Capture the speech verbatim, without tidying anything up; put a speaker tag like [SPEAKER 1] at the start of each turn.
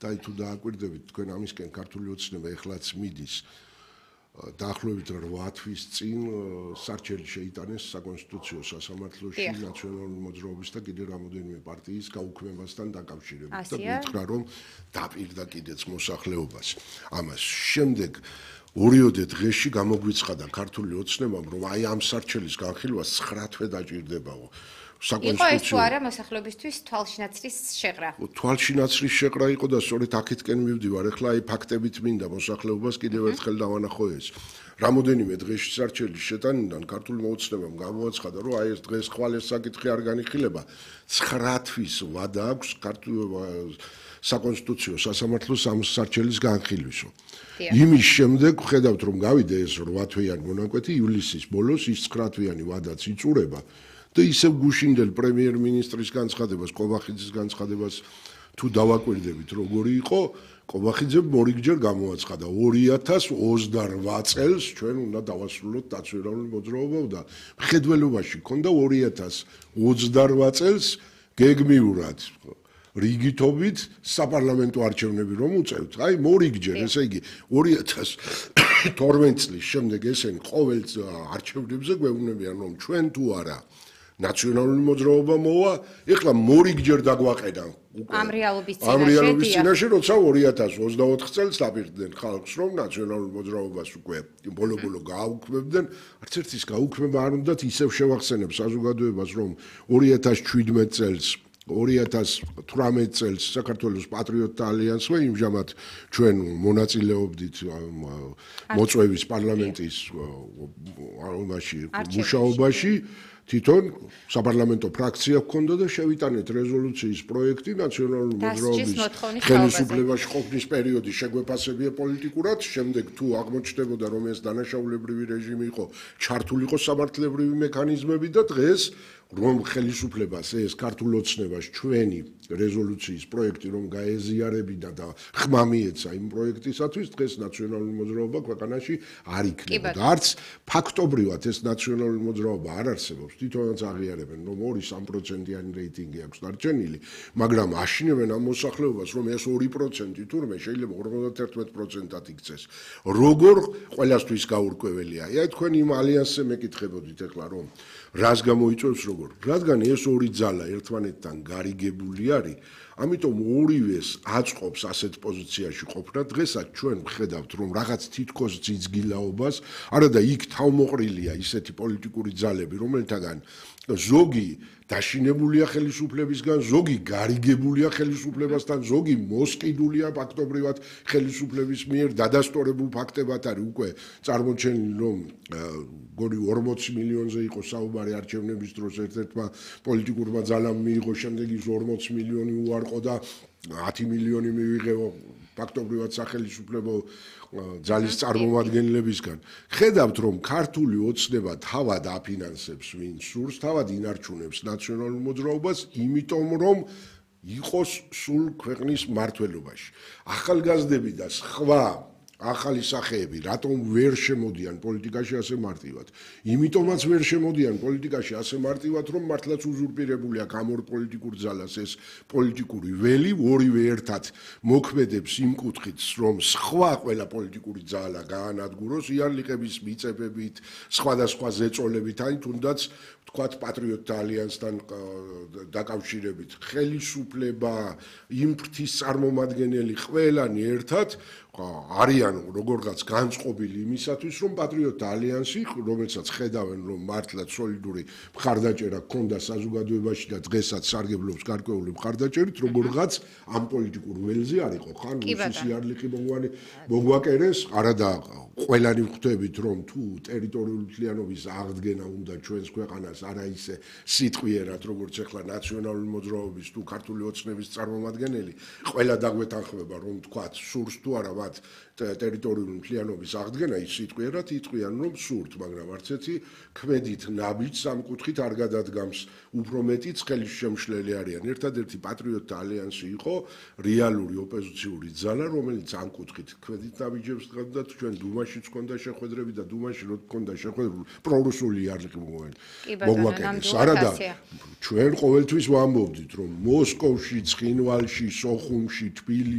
[SPEAKER 1] და თუ დააკვირდებით თქვენ ამისკენ ქართული ოცნება ეხლაც მიდის დაახლოებით რვა თვის წინ სარჩელი შეიტანეს საკონსტიტუციო სასამართლოში ნაციონალური მოძრაობის და კიდევ რამოდენიმე პარტიის გაუქმებასთან დაკავშირებით და გითხრა რომ დაპირდა კიდეც მოსახლეობას ამას შემდეგ ორიოდე დღეში გამოგვიცხადა ქართული ოცნებამ რომ აი ამ სარჩელის განხილვას ცხრა თვე დაჭირდებაო
[SPEAKER 2] იყო ეს თუ არა მოსახლეობისთვის თვალშინაცრის შეყრა.
[SPEAKER 1] თვალშინაცრის შეყრა იყო და სწორედ აქეთკენ მივდივარ. ეხლა აი ფაქტებით მინდა მოსახლეობას კიდევ ერთხელ დავანახო ეს. რამოდენიმე დღეში სარჩელის შეტანიდან ქართული ოცნებამ გამოაცხადა, რომ აი ეს დღეს ხვალ ეს საკითხი არ განიხილება. ცხრა თვის ვადა აქვს ქართულ საკონსტიტუციო სასამართლოს ამ სარჩელის განხილვისო. იმის შემდეგ ხედავთ რომ გავიდა ეს რვა თვიანი მონაკვეთი ივლისის ბოლოს ის ცხრა თვიანი ვადაც იწურება. და ისევ გუშინდელ პრემიერ-მინისტრის განცხადებას, ყობახიძის განცხადებას თუ დავაკვირდებით, როგორი იყო, ყობახიძემ მორიგჯერ გამოაცხადა ორი ათას ოცდარვა წელს ჩვენ უნდა დავასრულოთ დაცვირებული მოძრაობა და მხედველობაში ქონდა ორი ათას ოცდარვა წელს გეგმიურად რიგითობით საპარლამენტო არჩევნები რომ უწევთ. აი მორიგჯერ, ესე იგი ორი ათას თორმეტ წლის შემდეგ ესენი ყოველ არჩევნებზე გვეუბნებიან რომ ჩვენ თუ არა ნაციონალური მოძრაობა მოვა, ეხლა მორიგჯერ დაგვაყედა
[SPEAKER 2] ამ რეალობის წინაშე.
[SPEAKER 1] ამ რეალობის წინაშე, როცა ორი ათას ოცდაოთხ წელს დაპირდნენ ხალხს, რომ ნაციონალურ მოძრაობას უკვე ბოლო-ბოლო გააუქმებდნენ, არც ერთის გაუქმება არ უნდათ ისევ შევახსენებ საზოგადოებას, რომ ორი ათას შვიდმეტ წელს ორი ათას თვრამეტ წელს საქართველოს პატრიოტთა ალიანსმა იმჟამად ჩვენ მონაწილეობდით მოწვევის პარლამენტის მუშაობაში თვითონ საპარლამენტო ფრაქცია ჰქონდა და შევიტანეთ რეზოლუციის პროექტი ნაციონალური მოძრაობის ხელისუფლებაში ყოფნის პერიოდი შეგვეფასებია პოლიტიკურად, შემდეგ თუ აღმოჩნდებოდა რომ ეს დანაშაულებრივი რეჟიმი იყო, ჩართულიყო სამართლებრივი მექანიზმები და დღეს რომ ხელისუფლებას ეს ქართულ ოცნებას ჩვენი რეზოლუციის პროექტი რომ გაეზიარებინა და ხმა მიეცა იმ პროექტისათვის დღეს ნაციონალური მოძრაობა ქვეყანაში არ იქნებოდა. არც ფაქტობრივად ეს ნაციონალური მოძრაობა არ არსებობს. თვითონაც აღიარებენ რომ ორი სამი პროცენტიანი რეიტინგი აქვს დარჩენილი, მაგრამ აშინებენ ამ მოსახლეობას რომ ეს ორი პროცენტი თურმე შეიძლება ორმოცდაერთმეტ პროცენტად იქცეს. როგორ ყველასთვის გაურკვეველია. აი თქვენ იმ ალიანსზე მეკითხებოდით ეხლა რომ რას გამოიწვევს როგორ რადგან ეს ორი ძალა ერთმანეთთან გარიგებული არის, ამიტომ ორივეს აწყობს ასეთ პოზიციაში ყოფნა. დღესაც ჩვენ ვხედავთ, რომ რაღაც თითქოს ძიძგილაობას, არადა იქ თავმოყრილია ისეთი პოლიტიკური ძალები, რომელთაგან ზოგი დაშინებულია ხელისუფლებისგან, ზოგი გარიგებულია ხელისუფლებასთან, ზოგი მოსყიდულია ფაქტობრივად ხელისუფლების მიერ დადასტურებულ ფაქტებად არის უკვე წარმოჩენილი, რომ გონი ორმოცი მილიონზე იყო საუბარი არჩევნების დროს ერთ-ერთმა პოლიტიკურმა ძალამ მიიღო, შემდეგ ის ორმოცი მილიონი უარყო და ათი მილიონი მივიღო ფაქტობრივად სახელმწიფო ძალის წარმომადგენლებისგან. ხედავთ რომ ქართული ოცნება თავად აფინანსებს ვინ სურს, თავად ინარჩუნებს ნაციონალურ მოძრაობას, იმიტომ რომ იყოს სულ ქვეყნის მართლობაში. ახალგაზრდები და სხვა ახალი სახეები რატომ ვერ შემოდიან პოლიტიკაში ასე მარტივად? იმიტომაც ვერ შემოდიან პოლიტიკაში ასე მარტივად, რომ მართლაც უზურპირებული აქვს ამ ორ პოლიტიკურ ძალას ეს პოლიტიკური ველი, ორივე ერთად მოქმედებს იმ კუთხით, რომ სხვა ყველა პოლიტიკური ძალა გაანადგუროს იარლიყების მიწებებით, სხვადასხვა ზეწოლებით, აი თუნდაც ვთქვათ პატრიოტთა ალიანსთან დაკავშირებით, ხელისუფლება, იმ ფრთის წარმომადგენელი ყველანი ერთად არიან როგორღაც განწყობილი იმისათვის, რომ პატრიოტთა ალიანსი, რომელსაც ხედავენ, რომ მართლაც სოლიდური მხარდაჭერა ჰქონდა საზოგადოებაში და დღესაც სარგებლობს გარკვეული მხარდაჭერით, როგორღაც ამ პოლიტიკურ ველზე არ იყო ხან რუსის იარლიყი მოგვაკერეს, არადა ყველანი ხვდებით, რომ თუ ტერიტორიული მთლიანობის აღდგენა უნდა ჩვენს ქვეყანას არა ისე სიტყვიერად, როგორც ახლა ნაციონალური მოძრაობის თუ ქართული ოცნების წარმომადგენელი, ყველა დაგვეთანხმება, რომ თქვათ სურს თუ არა მათ ტერიტორიული მთლიანობის აღდგენა, ის სიტყვიერად იტყვიან, რომ სურთ, მაგრამ არც ერთი ქმედით ნაბიჯს ამ კუთხით არ გადადგამს, უფრო მეტიც ხელისშემშლელი არიან. ერთადერთი პატრიოტთა ალიანსი იყო რეალური ოპოზიციური ძალა, რომელიც ამ კუთხით ქმედით ნაბიჯებს გადადგა, ჩვენ დუმაშიც ჰქონდა შეხვედრები და დუმაში რო ჰქონდა შეხვედრები პრორუსული იარლიყი მოგვაკერეს. არადა ჩვენ ყოველთვის ვამბობდით, რომ მოსკოვში, ცხინვალში, სოხუმში, თბილისში